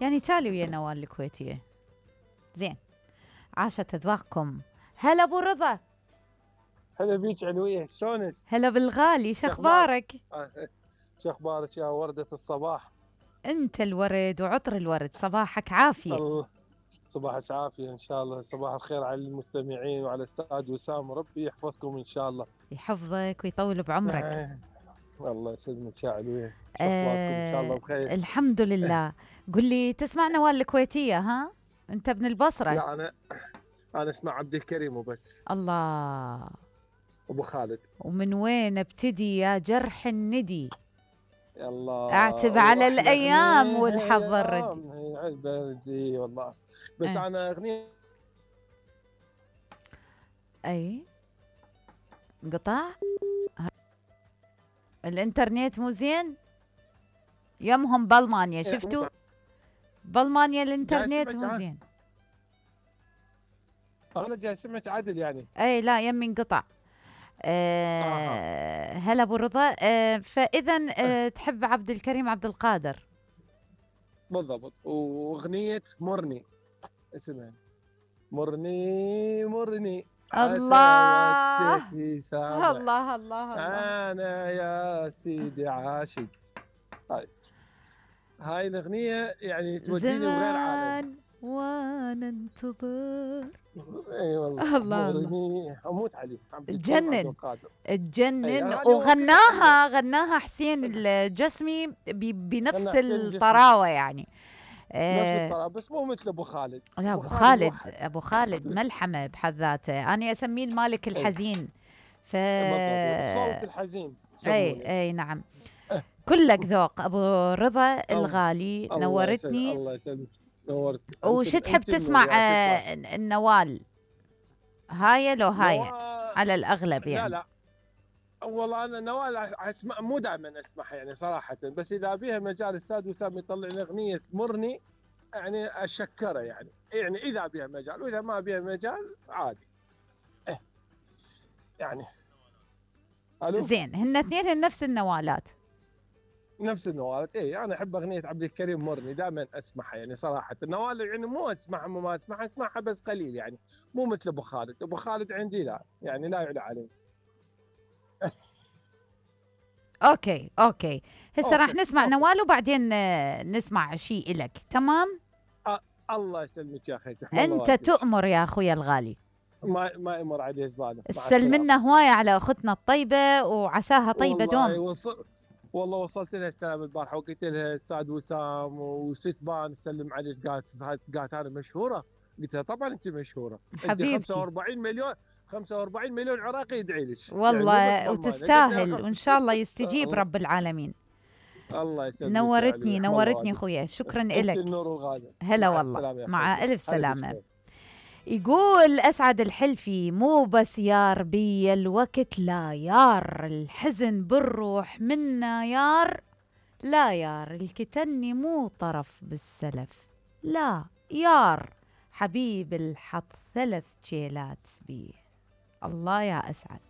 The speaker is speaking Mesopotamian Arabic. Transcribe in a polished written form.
يعني تالي ويا نوال الكويتية. زين، عاشت أذواقكم. هلا أبو رضا. هلا بيك علوية، شلونك؟ هلا بالغالي، شخبارك؟ شخبارك يا وردة الصباح؟ أنت الورد وعطر الورد، صباحك عافية. الله صباحك عافية إن شاء الله. صباح الخير على المستمعين وعلى أستاذ وسام، ربي يحفظكم إن شاء الله. يحفظك ويطول بعمرك. الله يسلمك يا علوية، شخباركم إن شاء الله بخير؟ الحمد لله. قل لي، تسمع نوال الكويتية ها؟ أنت ابن البصرة؟ لا أنا اسمع عبد الكريم وبس. الله. أبو خالد. ومن وين ابتدي يا جرح الندي؟ الله. اعتب على الأيام والحظ الردي. البردي والله. بس أنا أغنية. أي انقطع الانترنت مو زين يمهم بالمانيا، شفتوا؟ بالمانيا الانترنت مو زين. انا جاي سمعت عدل يعني. اي لا، يمي انقطع. هلا ابو رضا. فاذا تحب عبد الكريم عبد القادر. بالضبط. واغنية مرني اسمها مرني مرني. الله الله الله الله. انا يا سيدي عاشق. هاي الاغنية يعني توديني وغير عالم. وانا انتظر. اي والله. الله اموت عليه. تجنن. وغناها حسين الجسمي بنفس الطراوه يعني. نفس الطراوه، بس مو مثل ابو خالد. لا، ابو خالد ملحمه بحد ذاته، انا اسميه المالك الحزين. الصوت الحزين. اي نعم. كلك ذوق ابو رضا الغالي. نورتني. الله يسلمك. نورت. وش تحب تسمع؟ النوال هاي لو هاي على الأغلب يعني. لا والله أنا نوال أسمع، مو دائما أسمعها يعني صراحة، بس إذا بيها مجال أستاذ وسام يطلع لي أغنية مرني يعني أشكره يعني إذا بيها مجال، وإذا ما بيها مجال عادي. يعني ألو؟ زين، هن اثنين نفس النوالات. نفس النوالات. انا احب اغنيه عبد الكريم مرني، دائما اسمعها يعني صراحه. النوال يعني مو اسمعها ما اسمعها بس قليل يعني، مو مثل ابو خالد. ابو خالد عندي لا يعني لا يعلى عليه. اوكي هسه راح نسمع نوال وبعدين نسمع شيء لك. تمام. الله يسلمك يا اخي. انت تؤمر يا اخويا الغالي. ما يمر عليه ظالم. سلمنا هوايه على اختنا الطيبه وعساها طيبه دوم. والله وصلت لها السلام البارحه وقلت لها استاذ وسام وستبان سلم عليك. قالت انا مشهوره. قلت لها طبعا انت مشهوره. حبيبتي. انت 45 مليون عراقي يدعي لك والله يعني وتستاهل، وان شاء الله يستجيب رب العالمين. الله يسلمك. نورتني اخويا. شكرا لك. النور الغالي. هلا والله. مع الف سلامه. يقول أسعد الحلفي: مو بس يار بي الوقت، لا يار الحزن بالروح منا يار. لا يار الكتني مو طرف بالسلف. لا يار حبيب الحط 3 شيلات بيه. الله يا أسعد.